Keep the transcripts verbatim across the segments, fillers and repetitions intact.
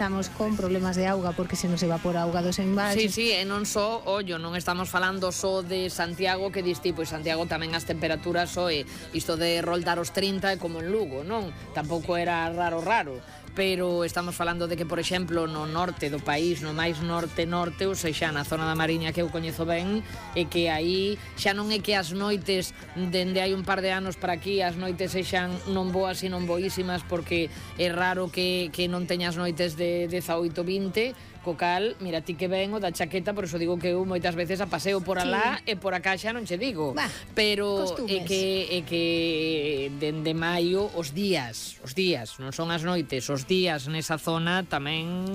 Estamos con problemas de auga porque se nos evapora auga dos envases. Sí, sí, e non só, ollo, non estamos falando só de Santiago, que dis ti, pois Santiago tamén as temperaturas só e isto de roldar os trinta é como en Lugo, non? Tampouco era raro raro, pero estamos falando de que, por exemplo, no norte do país, no máis norte-norte, ou sexa, na zona da Mariña que eu coñezo ben, e que aí xa non é que as noites, dende hai un par de anos para aquí, as noites sexan non boas e non boísimas, porque é raro que, que non teñas noites de dezaoito, vinte, co cal, mira ti que ven o da chaqueta, por eso digo que eu moitas veces a paseo por alá, sí, e por acá xa non che digo, bah, pero costumes. é que é que dende maio os días, os días, non son as noites, os días nesa zona tamén,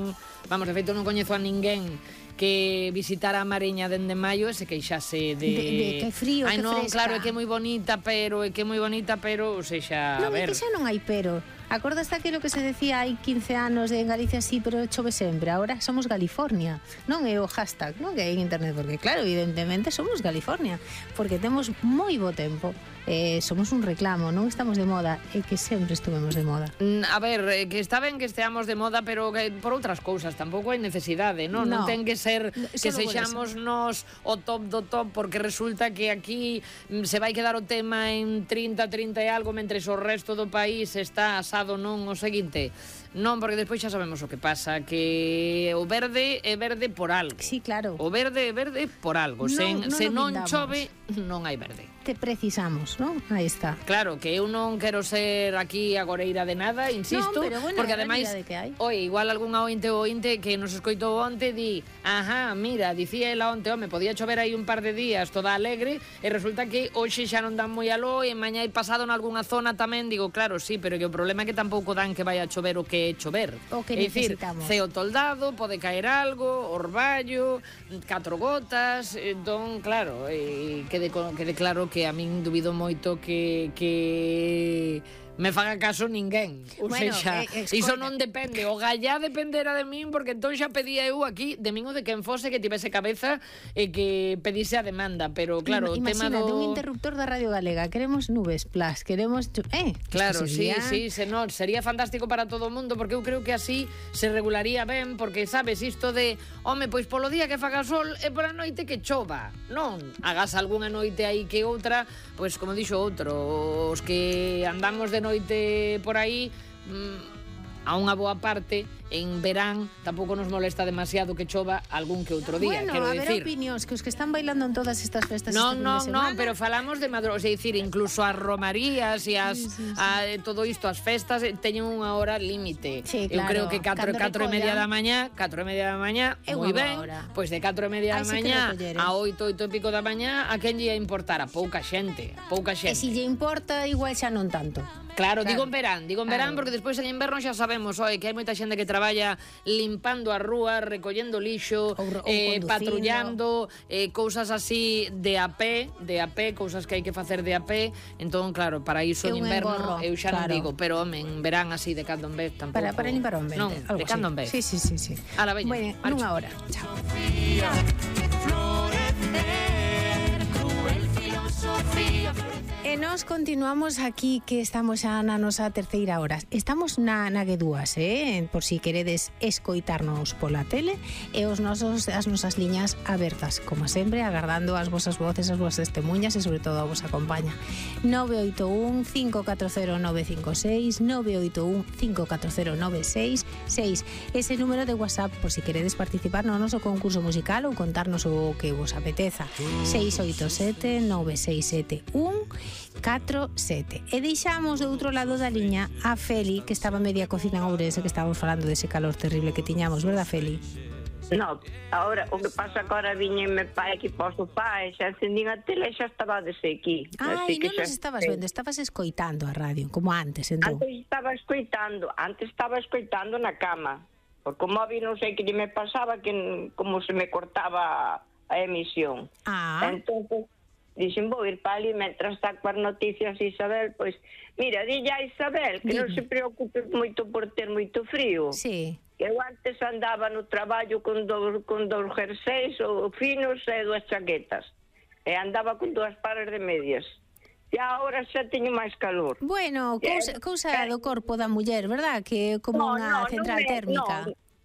vamos, de feito non coñezo a ninguén que visitara a Mariña dende maio e se queixase de... De, de que frío, Ai, que non, fresca. claro, é que é moi bonita, pero é que é moi bonita, pero, ou sexa, non, a ver... Non, é que xa non hai pero. Acordas aquilo que se decía hai quince anos de en Galicia sí, pero chove sempre. Ahora somos California. Non é o hashtag, non que hai en internet, porque claro, evidentemente somos California, porque temos moi bo tempo. Eh, somos un reclamo, non estamos de moda, e que sempre estuvemos de moda. A ver, eh, que está ben que esteamos de moda, pero que por outras cousas, tampouco hai necesidade, non? No, non ten que ser que sexamos eso. nos o top do top, porque resulta que aquí se vai quedar o tema en trinta, trinta e algo, mentres o resto do país está asado, non? O seguinte, non, porque despois xa sabemos o que pasa, que o verde é verde por algo. Sí, claro. O verde é verde por algo. Non, Sen, non se non pintamos. chove, non hai verde. Te precisamos, non? Aí está. Claro, que eu non quero ser aquí agoreira de nada, insisto, non, pero bueno, porque ademais, oi, igual algunha ointe ou ointe que nos escoitou onte di, ajá, mira, dicía ela onte, home, podía chover aí un par de días toda alegre, e resulta que hoxe xa non dan moi aló, e mañá hai pasado en algunha zona tamén, digo, claro, sí, pero que o problema é que tampouco dan que vai a chover o que é chover. O que é dicir, necesitamos. ceo toldado, pode caer algo, orballo, catro gotas, entón, claro, eh, quede, quede claro que a min dubido moito que, que me faga caso ninguén. Ou bueno, seja, eh, iso non depende. O gallá dependera de min, porque entón xa pedía eu aquí de min ou de quen fose que tivese cabeza e que pedise a demanda, pero claro, o tema do... Imagínate un interruptor da Radio Galega, queremos Nubes Plus, queremos... Eh, claro, sería... sí, sí, se non, sería fantástico para todo o mundo, porque eu creo que así se regularía ben, porque sabes, isto de, home, pois polo día que faga sol e pola noite que chova. Non, hagas algunha noite aí que outra, pois como dixo outro, os que andamos de noite por aí, mmm, a unha boa parte, en verán tampouco nos molesta demasiado que chova algún que outro día, bueno, quero a decir. ver opinións, que os que están bailando en todas estas festas Non, este non, fin de non, semana... pero falamos de madrugada, é dicir, incluso as romarías e as sí, sí, sí. A, todo isto, as festas teñen unha hora límite. Sí, eu claro. creo que catro, catro e media recollan... da mañá, catro e media da mañá, É moi unha ben. hora. Pois de catro e media da Ai, sí mañá a oito, oito e pico da mañá, a quen lle ia importar? A pouca xente, a pouca xente. E se lle importa, igual xa non tanto. Claro, Claro. digo en verán, digo en verán, Claro. porque despois en inverno xa sabemos, oi, que hai moita xente que traballa limpando as rúas, recollendo lixo, Ou, ou eh, conducindo. patrullando, eh, cousas así de a pé, de a pé, cousas que hai que facer de a pé. Entón, claro, para iso É en un inverno engorro, eu xa claro. non digo, pero home, en verán así de cando en vez tampouco. Para, para limpar o ambiente. Non, algo de cando en así. vez. Sí, sí, sí, sí. A la veña, Bueno, marcho. nunha hora. Chao. E nós continuamos aquí, que estamos xa na nosa terceira hora. Estamos na, na que dúas, eh? Por si queredes escoitarnos pola tele, e os nosos, as nosas liñas abertas, como sempre, agardando as vosas voces, as vosas testemunhas e sobre todo a vosa compaña. nove oito un, cinco catro cero, nove cinco seis, nove oito un, cinco catro cero, nove seis seis. Ese número de WhatsApp, por si queredes participar no noso concurso musical ou contarnos o que vos apeteza. seis oito sete, nove seis sete un, catro sete. E deixamos do outro lado da liña a Feli, que estaba media cocina en Ourense, que estábamos falando dese calor terrible que tiñamos, verdad, Feli? No, ahora o que pasa que ahora viñeme pa aquí para o sofá e xa encendín a tele e xa estaba dese aquí. Ai, non nos estabas vendo, estabas escoitando a radio, como antes, entón. Antes estaba escoitando, antes estaba escoitando na cama, porque o móvil non sei que me pasaba, que como se me cortaba a emisión. Ah. Entón, dixen, vou ir para ali, mentras está coas noticias Isabel, pois, mira, dille a Isabel que Dime. non se preocupe moito por ter moito frío. Sí. Eu antes andaba no traballo con dous, con dous jerseis ou finos e dúas chaquetas. E andaba con dúas pares de medias. E agora xa teño máis calor. Bueno, cousa, cousa Eh, do corpo da muller, verdad? Que é como no, unha no, central non é, térmica. No,